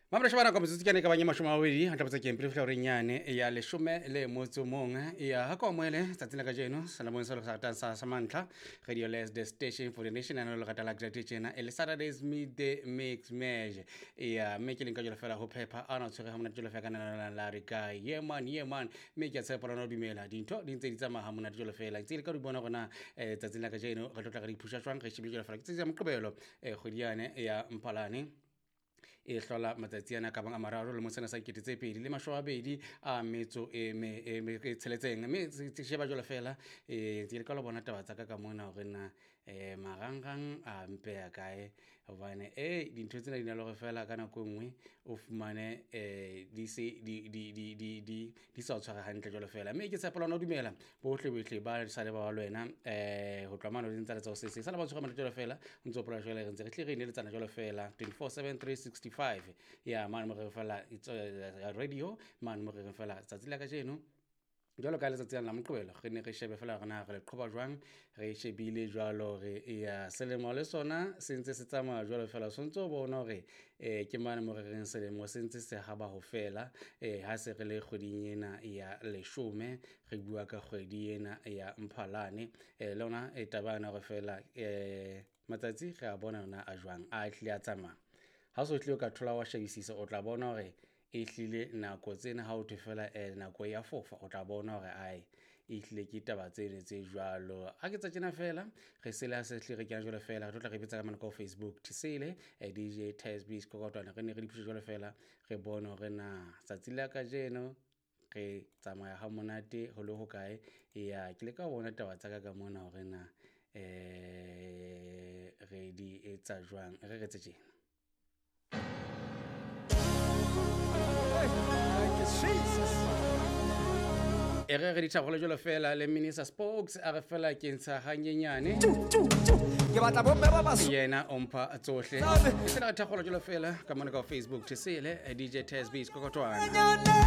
Mamrešo ba nako metsotso ke yane ka bang e 20 a tlabotsa keng pele fihla horeng yane ya leshome le motso mong ya ha ko amohele tsatsing la kajeno selemong se le sa ratang sa mantlha radio les the station for the nation ana le rata la grade tjena e le Saturdays midday mix match ya mme ke leng ka jalo fela ho phepha ana tshwere ha monate jalo fela ka nana la re ka yeah man, yeah man, mme ke a tshepa lona dumela dintho di ntse di tsamaya ha monate jalo fela ntse le ka di bona gona tsatsing la kajeno re tlo tla re di phusha jwang re shebile jalo fela ke tsatsi ya Moqebelo kgwedi yane ya Mphalane e hlola matsatsi ana ka bang a mararo lemong sena sa 2026 a metso e me e tsheletseng mme se sheba jwalo fela ke le ka lo bona taba tsa ka ka mona hore na marangrang a mpeya kae hobane dintho tsena di na le hore fela ka nako e nngwe o fumane di se di di di di di di sa o tshware hantle jwalo fela mme ke tshepa lona o dumela bohle bohle ba sa le ba ba le wena ho tloha mane o ntse le tsa ho se sa le ba tshwara monate jwalo fela o ntse o pola jwale re ntse re tle re ineletsana jwalo fela 24/7 365 ya mane mo re fela radio mane mo re fela tsatsi la kajeno jwalo ka letsatsi la Moqebelo re ne re shebe fela hore na re le qhoba jwang re shebile jwalo re ya selemo le sona se ntse se tsamaya jwalo fela o ntse o bona hore ke mane mo re reng selemo se ntse se haba ho fela ha se re le kgweding ena ya leshome re bua ka kgwedi ena ya Mphalane le yona e taba yana hore fela matsatsi re a bona ona a jwang a hlile a tsamaya ha o so hlile o ka thola wa shebisisa o tla bona hore e hlile nako tsena ha o thwe fela nako ya fofa o tla bona hore ae e hlile ke taba tseno tse jwalo ha ke tsa tjena fela re sele ha se hlile re kena jwalo fela re tlo tla re betsa ka mane ka Facebook Tisele DJ Tesby Sekokotwana re ne re di phushe jwalo fela re bone hore na tsatsi la kajeno re tsamaya ha monate ho le hokae ya ke le ka bona taba tsa ka ka mona hore na re di etsa jwang re re tse tjena. E re re dithabolo jwalo fela le Minister Spokes a re fela ke ntsha hanyenyane ke batla bomme ba baso yena o mpha tsohle e sena re thakgolo jwalo fela ka mona ka Facebook Tisele DJ Tesby Sekokotwana.